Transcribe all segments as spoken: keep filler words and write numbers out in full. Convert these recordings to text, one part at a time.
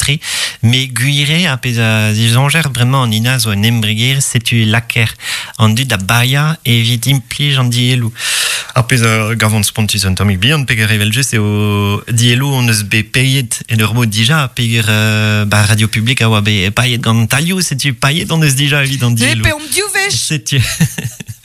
tre, me gwire a pez a zizonger bremañ an ina zo un embreger setu laker an dud da baia evit implij an dielou. Ar pez a gavont spontus un tammig bihan peger evel just eo dielou on eus bet peiet en ur mod dija peger euh, ba radio publik a oa bet paiet gant talioù setu paiet on eus dija evit an dielou. Ne pe om div wech. Setu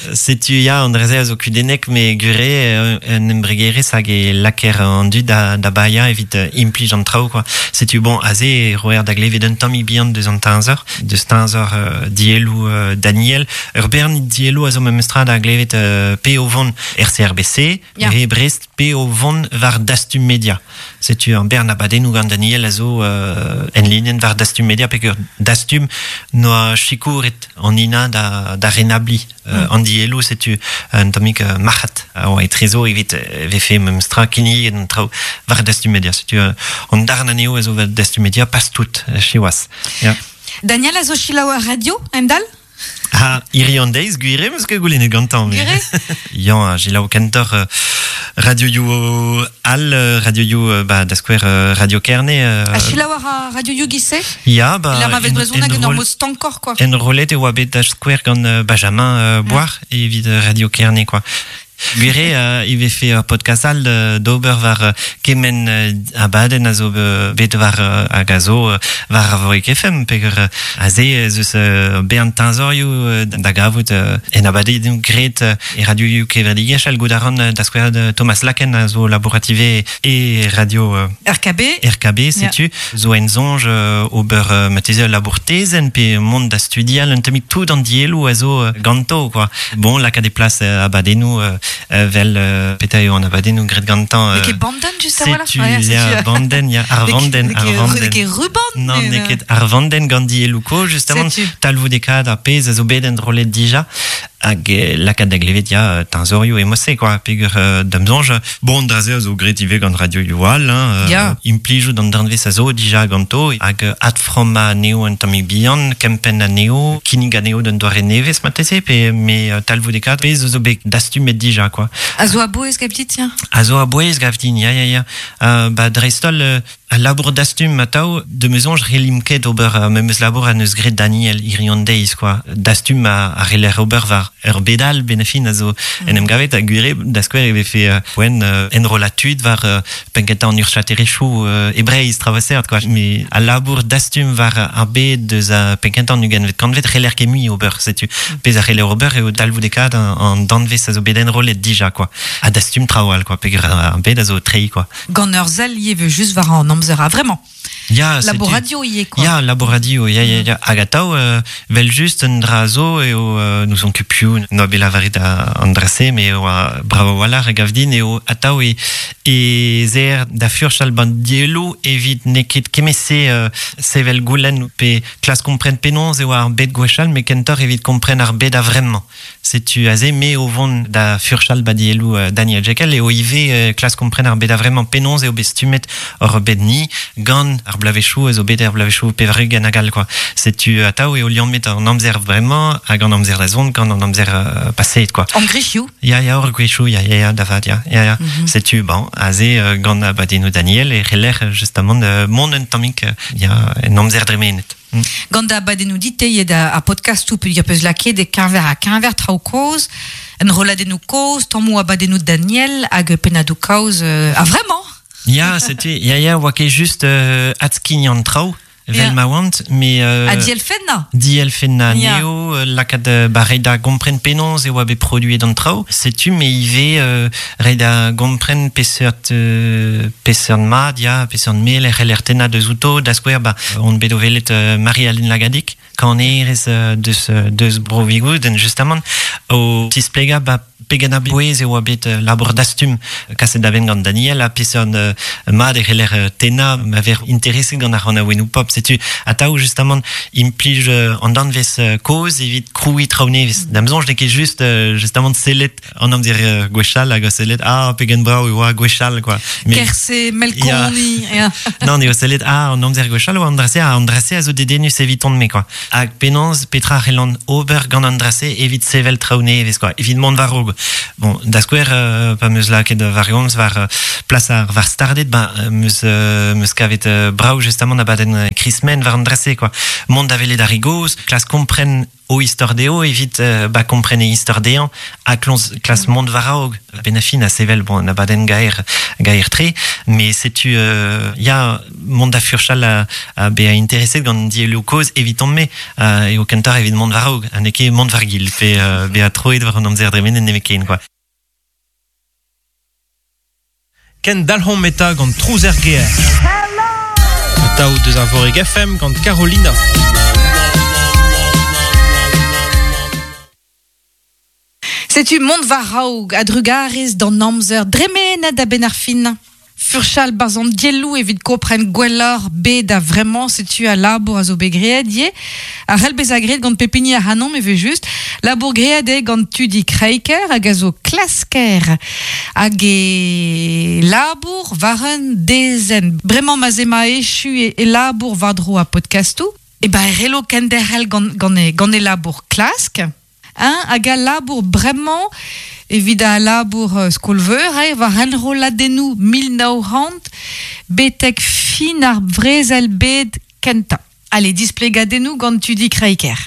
Setu ya an dreze a zo kudennek me gure un embregerez hag e laker an dud da, da baia evit implij an traoù quoi. Setu bon aze e roer da glevet un tammig bihan deus an teñzor, deus teñzor euh, dielou euh, Daniel. Ur bern dielou a zo memestra da glevet euh, pe o vont R C R B C, Ya. re Brest, pe o vont war Dastum Media. Setu an bern abadennoù gant Daniel a zo euh, en linenn war Dastum Media peger Dastum noa sikouret an ina da, da renabli. Euh, mm. An dielou setu un tammig euh, marc'had a oa etrezo evit euh, vefe memestra kinniget an traoù war Dastum Media. Setu euh, an darn anezho a zo war Dastum Media pas tout, siwazh. Ya. Daniel a zo selaou ar radio, Endal? Ha, hiri an deiz, gwire, meus ket goulennet gantañ. Mais... Gwire? Yann, a selaou kentoc'h euh, radio you al, radio you, euh, ba, da skouer euh, radio Kerne. Euh, A selaou ar radio you gise? Ya, ba... La ma vet en- brezhoneg en ur enroll- mod stankoc'h, quoi. Enrollet e oa bet da skouer gant euh, Benjamin euh, Boire evit euh, Radio Kerne, quoi. Gwire, euh, i vefe ur podcast all euh, d'ober war euh, kemen euh, abadenn a zo euh, bet war euh, hag a zo euh, war Arvorik F M, peger euh, aze ez eus euh, bean teñzorioù euh, da gavout euh, en abadennoù graet euh, e radio kevredigezh al gout a ran euh, da skouer de Thomas Laken a zo laborative e radio euh, R K B. R K B, setu, zo en zonj euh, ober euh, mateze labour tezen pe mont da studial un tammig tout an dielou a zo euh, ganto, quoi. Bon, lakaat e plas euh, abadennoù euh, euh, vel euh, peta eo an abadennoù graet gantañ. N'eo Euh, ket bandenn just a-walc'h, setu, ouais, setu, ya, bandenn, ya, ar N'eo ket- vandenn, n'eo ar ket- vandenn. n'eo ket ruban, Non, mais, n'eo euh, ket ar vandenn gant diellouko, justement, Setu. talvoudekaat ar pezh a zo bet enrollet dija, hag eh, lakaat da glevet ya euh, teñzorioù emose, quoi, peger euh, da'm soñj. Bon, draze a zo graet ivez gant radio Youal, hein, euh, Ya. implijout an danvez a zo dija ganto, hag euh, adframma anezho un tammig bihan, kempenn anezho, kinnig anezho d'un doare nevez marteze, pe me euh, talvoudekaat pezh a zo bet dastumet dija, quoi. A zo a-bouez gav dit, tiens. A zo a-bouez gav din, ya, ya, ya. Euh, ba, dreist-holl, euh, al labour dastum atav, de me soñj relim ket ober euh, memes labour a neus graet Daniel hirion deiz, quoi. Dastum a, a reler ober war ur bedal benefin a zo mm. en em gavet a gwire da skouer e vefe euh, poent euh, enrollatud war euh, penkentañ an urchaterezhioù euh, e Breizh travasert, quoi. Mais al labour dastum war ar bed deus a penkentañ an ugentvet kantvet reler ket mui ober, setu. Pezh a reler ober eo talvoudekaat an, an danvez a zo bet enrollet dija, quoi. A dastum traoù all, quoi, peger ar bed a zo treiñ, quoi. Gant ur sell ivez just war an amzer a vraiment. Ya, Labo setu. radio ivez, quoi. Ya, labo radio, ya, ya, ya. Hag atav, euh, vel just un dra zo eo euh, nous on kupiou, noa bet lavaret a an dra-se, me eo a bravo walc'h e gav din eo atav e, e zer da furchal ban dielou evit n'eo ket kemese euh, sevel goulenn pe klas kompren penaos eo ar bed gwechall, me kentoc'h evit kompren ar bed a vremañ. Setu aze me o vont da furchal ba dielou euh, Daniel Jekel eo ivez euh, klas kompren ar bed a vremañ penaos eo bet stummet ur bed ni gant ar blavechoù ez o bet ar blavechoù pevar-ugent hag all, quoi. Setu atav eo liammet an amzer vremañ hag an amzer da zont gant an amzer euh, paseet, quoi. An gwechioù? Ya, ya, ur gwechioù, ya, ya, ya, da vat, ya, ya, ya. Mm-hmm. Setu, bon, aze euh, gant abadennoù Daniel e reler justement euh, mont un tammig euh, ya, en amzer dremenet. Mm. Gant da abadennoù dit eo da ar podcastoù peogwir peus lakaet e keñver ha keñver traoù kozh, en rolladennoù kozh, tammoù abadennoù Daniel hag pennadoù kaoz, euh, ah, vraiment? Ya, setu, ya, ya, oa ket just euh, adskign an traoù, vel Ya. ma oant, mais euh, Ha dielfennañ? Dielfennañ Ya. anezho, euh, lakaat euh, ba reiñ da gompren penaos e oa bet produet an traoù. Setu, me ivez euh, reiñ da gompren peseurt, euh, peseurt mat, ya, peseurt mel e c'heller tennañ deus outo, da skouer, ba, on bet o welet euh, Marie-Aline Lagadic, kanerez euh, deus, euh, deus Bro Vigouden, justement, o tisplegañ ba pegen a-bouez e oa bet euh, labour dastum kaset da benn gant Daniel, ha peseurt euh, mat e c'heller euh, tennañ ma ver intereset gant ar c'hanaouennoù pop. Setu atav justement implij euh, an danvez euh, kozh evit krouiñ traoù nevez. Da'm soñj n'eo ket just euh, justement sellet an amzer euh, gwechall hag o sellet, ah, pegen brav e oa gwechall, quoi. Mais Kerse, Melkoni, ya. Non, eo sellet, ah, an amzer gwechall oa an dra-se, ah, an dra-se a zo dedennus eviton me, quoi. Hag penaos petra c'hellan ober gant an drase evit sevel traoù nevez quoi, evit mont war-raok. Bon, da skouer euh, pa meus lakaet war gomz war euh, plas ar war stardet, ba meus euh, meus kavet euh, brav justement abadenn Chrismen war an drase quoi. Mont da welet ar re gozh, klas kompren o istor dezho evit euh, ba kompren e istor dezhañ ha klons klas mont war-raok. Benafin a sevel bon abadenn gaer gaer tre, mais setu euh, ya mont da furchal a, a bezañ intereset gant dielloù kozh eviton-me euh, eo kentoc'h evit mont war-raok ha n'eo ket mont war-gil pe euh, bezañ troet war an amzer dremenet nemetken quoi. Ken dalc'homp eta gant Trouz er gêr. Atao deus ar Voreg F M gant Carolina. Setu mont war-raok a-drugarez d'an amzer dremenet a benn ar fin. Furchal barzh an dielloù evit kompren gwelloc'h bet a vraiment setu a labour a zo bet graet ivez. A c'hell bezañ graet gant pep hini ac'hanomp evel just. Labour graet eo gant Tudi Kreiker hag a zo klasker. Hag e labour war un dezenn. Bremañ ma 'z ema echu e, e labour war-dro a podcastoù. E ba e c'hello kenderc'hel gant, gant, e, gant e labour klask. Hein, hag a labour bremañ evit a labour euh, skolveur, eh, war enrolladennoù mil nav c'hant betek fin ar brezel bed kentañ. Allez, displegadennoù gant Tudi Kreiker.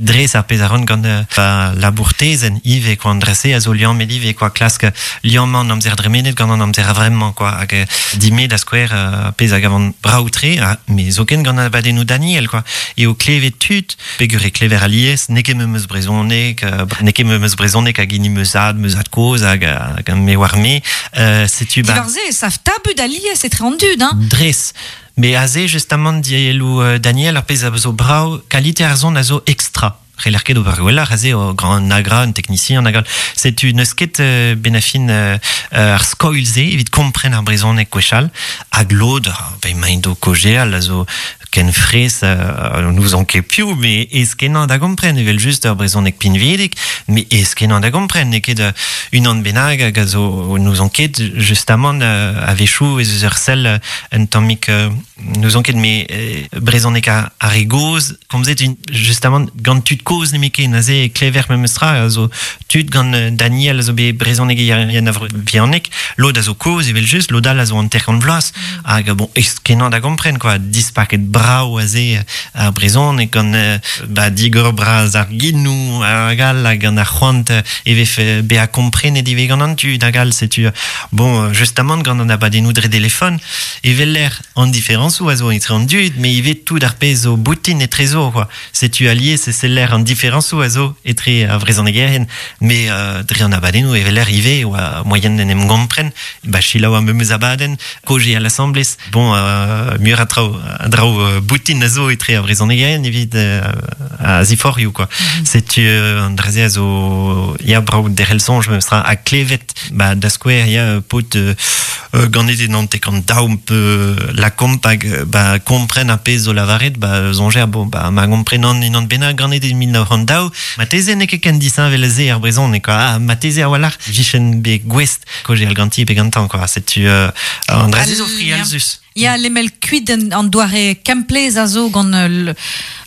Dres ar pezh a ran gant euh, ba labour tezenn ivez quoi, an drese a zo liammet ivez quoi, klask liammañ an amzer dremenet gant an amzer a-vremañ quoi, hag euh, dime da skouer euh, pezh hag avan brav-tre, ha, me zoken gant abadennoù Daniel quoi, eo klevet tud, peogwir e klever alies, n'eo ket memes brezhoneg, euh, n'eo ket memes brezhoneg hag hini meus zad, meus zad kozh hag, hag me war me, euh, setu ba Diwar se, sav tabut alies etre an dud, hein. Dres. Mais aze, justement, dielloù euh, Daniel, ar pezh a zo brav, kalite ar son a zo extra. C'heller ket ober gwelloc'h, aze o grand agra, un technicien, un agra. Setu n'eus ket euh, benafin euh, ar skoilh-se evit kompren ar brezhoneg gwechall, hag lod, ben emaint o kaozeal, a zo ken frez, euh, n'ouzon ket piv, mais aes-kenañ da gompren, evel just ur brezhoneg pinvidik, mais aes-kenañ da gompren, n'eo ket euh, unan bennak hag a zo n'ouzon ket justement euh, a-wechoù ez eus ur sell euh, un tammig euh, n'ouzon ket, mais euh, brezhoneg ar, ar re gozh, komzet un, justement gant tud kozh nemetken, aze klever memestra, a zo tud gant euh, Daniel a zo bet brezhoneg yann a vihanik, lod a zo kozh evel just, lod all a zo hanter-kant vloaz, hag bon, aes-kenañ da gompren quoi, dispaket brav aze ar brezhoneg gant euh, ba digor bras ar genoù hag all, hag gant ar c'hoant e vefe bezañ komprenet ivez gant an tud hag all, setu bon, justement gant an abadennoù dre telefon, evel l'air an diferañsoù a zo etre an dud, mais ivez tout ar pezh zo boutin etrezo quoi. Setu alies e seller an diferañsoù a zo etre ar brezhonegerien, mais euh, dre an abadennoù evel l'air ivez oa moaien d'en em gompren, ba selaou ar memes abadenn, kaozeal à l'assemblée, bon, euh, muioc'h a traoù, a draoù, euh, boutin a zo etre ar brezhonegerien evit euh, a ziforioù quoi. Mm-hmm. Setu euh, an dra-se a zo ya brav derc'hel soñj memestra ha klevet, ba da skouer ya paotr euh, euh, ganet e hanter-kant daou pe lakomp hag, ba kompren ar pezh zo lavaret, ba soñjer, bon, ba ma gomprenan unan bennak ganet e mil nav c'hant daou, marteze n'eo ket ken disheñvel se ar brezhoneg quoi. Ah, marteze a-walc'h vijen bet gouest kaozeal ganti pe gantañ quoi. Setu euh, an dra-se zo frialzus. Ya, lemel kuit an, an doare kemplez a zo gant euh,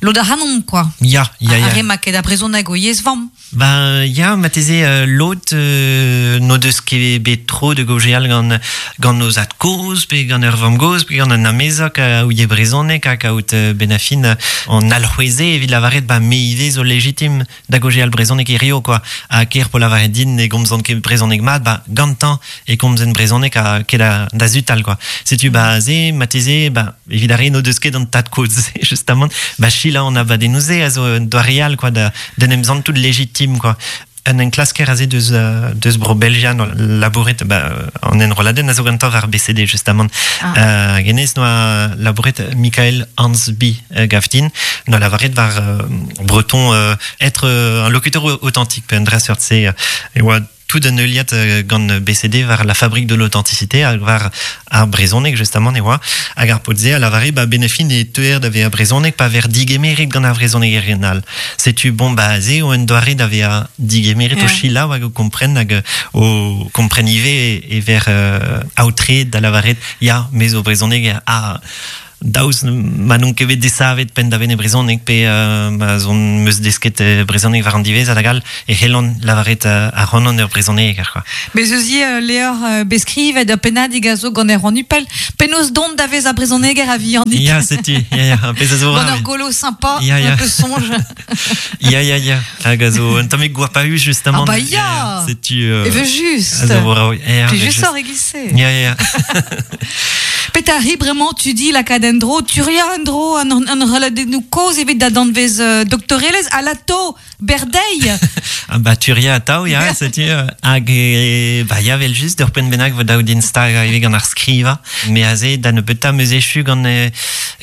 lod ac'hanomp quoi. Ya, ya, ya. Ar re ma ket a brezhoneg o yezh vamm. Ben, ya, marteze euh, lod euh, n'o deus ket bet tro de gaozeal gant, gant o zad kozh, pe gant ur vamm gozh, pe gant un amezok a ouie brezhoneg hag kaout euh, benafin an alc'hweze evit lavaret, ba me ivez zo legitim da gaozeal brezhoneg hirio quoi. Ha ker po lavaret din ne gomzan ket brezhoneg mat, ba gantañ e komzen brezhoneg ha ket da, da zutal quoi. Setu ba ze, marteze, ba, evit ar re n'o deus ket an tad kozh, justement, ba selaou an abadennoù-se a zo un doare all quoi, da, d'en em santout légitime quoi. Un enklasker aze deus, euh, deus bro Belgia no labouret, ba, an enrolladenn a zo gantañ war B C D justement. Ah. Euh, genez noa labouret Michael Hansby, euh, gavdin, noa lavaret war, euh, breton, euh, être, euh, un locuteur authentique, pe un dra seurt se, euh, e oa tout un heuliad, euh, gant B C D war la fabrique de l'authenticité, hag war ar brezhoneg justement, e oa, hag ar paotr-se a lavare, ba, benefin e teuer da vezañ brezhoneg pa ver digemeret gant ar brezhonegerien all. Setu bon, ba, se o un doare da vezañ digemeret o Yeah. selaou hag o kompren, hag o kompren ivez e, e ver, euh, aotre da lavaret, ya, me zo brezhoneg, ah, daoust ma n'on ket bet desavet penn da benn e brezhoneg pe euh, ma zon meus desket brezhoneg war an diwezh hag all e c'hellan lavaret ar c'hanon ur brezhoneg ar quoi. Bez eus ivez levr beskrivet ur pennadig a zo gant Erwan Hupel penaos dont da vez a brezhoneger a vihanik. Ya, setu, ya, ya, pezh a zo Gant ur golo sympa, ya, ya. Un peu songe. Ya, ya, ya, hag a zo un tammig goapaüs justement. Ah bah ya, setu... Euh, e veut juste. A zo, ya, Puis juste hors glissé. Ya, ya. Peta ri bremañ tu di lakaat en dro, turia en dro, an, an reladennoù kozh evit da danvez euh, doktorelez, alato, berdei. Ah bah turia atao, ya, setu, hag e, bah ya vel just ur penn bennak vo daou din stag ivez gant ar skriva, me aze da nebeutañ meus echu gant,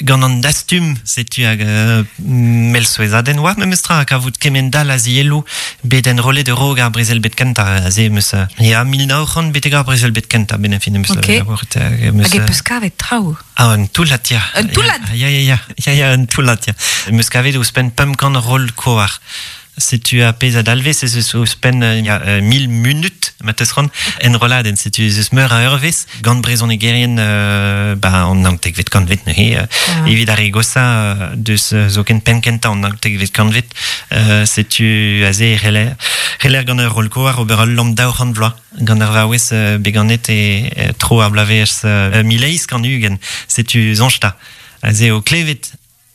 gant an dastum, setu hag euh, mel souezhadenn oa memes tra kavout kement dal a zielloù bet enrollet ur ar brezel bet kentañ, aze meus, ya mil nav c'hant betek ar brezel bet kentañ, ben fin meus okay. labouret, meus, hag e peus kavet traoù. Ah, un toullad, ya. Un toullad? Ya, ya, ya, ya, ya, un toullad, ya. Meus kavet ouzhpenn pemp kant roll koar. Setu a pezh a dalvez, ez eus ouzhpenn ya, mil munut, ma teus c'hoant, enrolladenn. Setu ez eus meur a eurvezh gant brezhonegerien euh, ba, an naontekvet kantved neuze, euh, ah. Evit ar re gosañ deus zoken penn kentañ an naontekvet kantved, euh, setu aze c'heller, c'heller gant ur roll koar ober ul lamm daou c'hant vloaz gant ar vaouez euh, beganet e, e tro ar bloavezh euh, mil eizh kant ugent. Setu soñj ta. Aze o klevet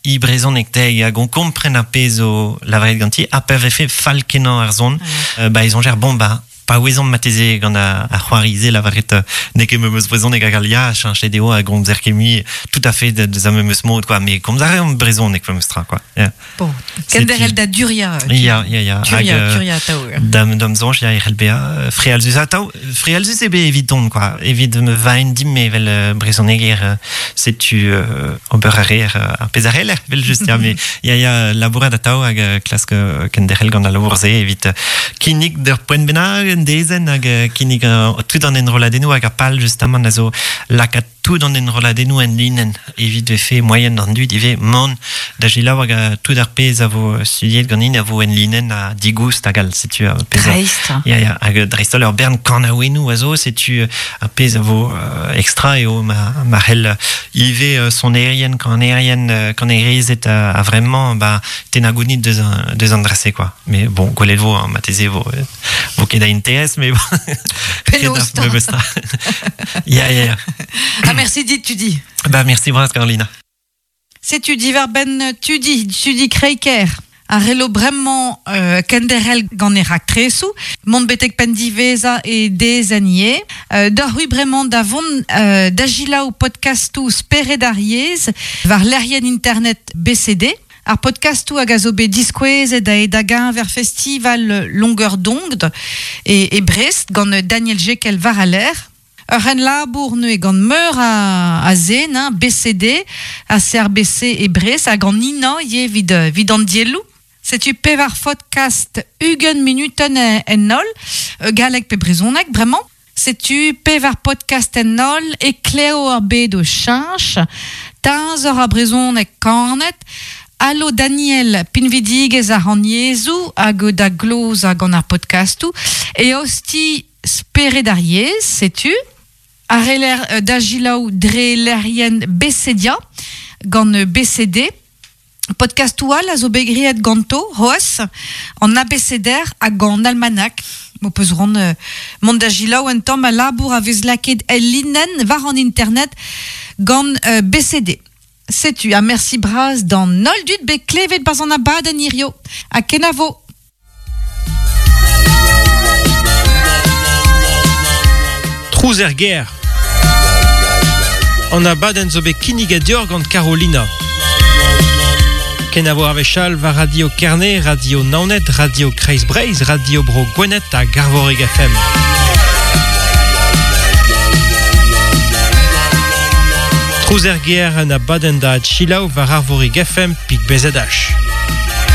i brezhoneg teg hag on kompren ar pezh o lavaret ganti ha pa vefe fall kenañ ar zon, mm. euh, ba e soñjer bon ba pa ouezomp mateze gant ar c'hoari-se lavaret n'eo ket memes brezhoneg hag al ya cheñchet eo hag gomzer ket mui tout à fait de, de memes mod quoi, mais komz a reomp brezhoneg memes tra quoi. Yeah. Bon, kenderel da duria. Ya, ya, ya. Turia, hag, turia atao. Dam, dam soñj ya e c'hell bezañ frealzus atao, frealzus eo bet evidon quoi, evit me vaen dim evel brezhoneger setu euh, ober a reer ar pezh a c'heller vel just ya, mais ya ya labourat atao hag klask kenderel gant al labour-se evit kinnig d'ur poent bennak un dezenn hag kinnig uh, tout an enrolladennoù hag ar pal justement a zo lakaat tout an enrolladennoù en linenn evit vefe moyen d'an dud ivez mont da selaou hag tout ar pezh a vo studiet ganin a vo en linenn a digoust hag all setu ar pezh dreist ya ya hag dreist-holl ur bern kanaouennoù a zo setu ar pezh a vo uh, extra eo ma ma c'hell ivez uh, sonerien kanerien uh, kanerezed a, a vraiment ba tennañ gounid deus an deus an dra-se quoi, mais bon gwelet vo hein, mateze vo vo ket da interes mais bon penaos ta ya ya ya. Ah, merci dit tu dis. Bah merci bras Carolina. C'est tu dis verben tu dis tu dis Kreiker. A relo bremañ euh, kenderel gant e raktresoù, mont betek penn diveza e dezanier, euh, d'ar ru bremañ da vont euh, da gilaou podcastoù Spered ar yezh war lec'hienn internet B C D. Ar podcastoù hag a zo bet diskouezet a e da geñver festival Longueur d'Onde e, e Brest gant Daniel Jekel war a l'air. Ur c'hen labour neuze gant meur a, a zen, hein, B C D, a C R B C e Brest, hag an ina ivez evit, evit an dielloù. Setu pevar podcast ugent minuten en holl, galleg pe brezhoneg, bremañ. Setu pevar podcast en holl, e kleo ar bed o cheñch, teñzor ar brezhoneg kanet, Allo Daniel, pinvidigez ar an yezhoù hag da gloz hag an ar podcastoù, e osti Spered ar yezh, setu, ar reler da gilaou dre lec'hienn B C D A, gant B C D, podcastoù all a zo bet graet ganto, c'hoazh, an A B C D R hag an almanach. Mo peus ran euh, mont da gilaou un tamm a labour a vez lakaet el linenn war an internet gant euh, B C D. Setu, a merci bras d'an holl dud bet klevet barzh an abadenn hirio. Ha kenavo. Trouz er gêr. An abadenn zo bet kinniget deoc'h gant Carolina. Kenavo ar wechall war Radio Kerne, Radio Naoned, Radio Kreiz Breizh, Radio Bro Gwened hag Arvorig F M. Trouz er gêr an abadenn da selaou war Arvorig F M pik B Z H.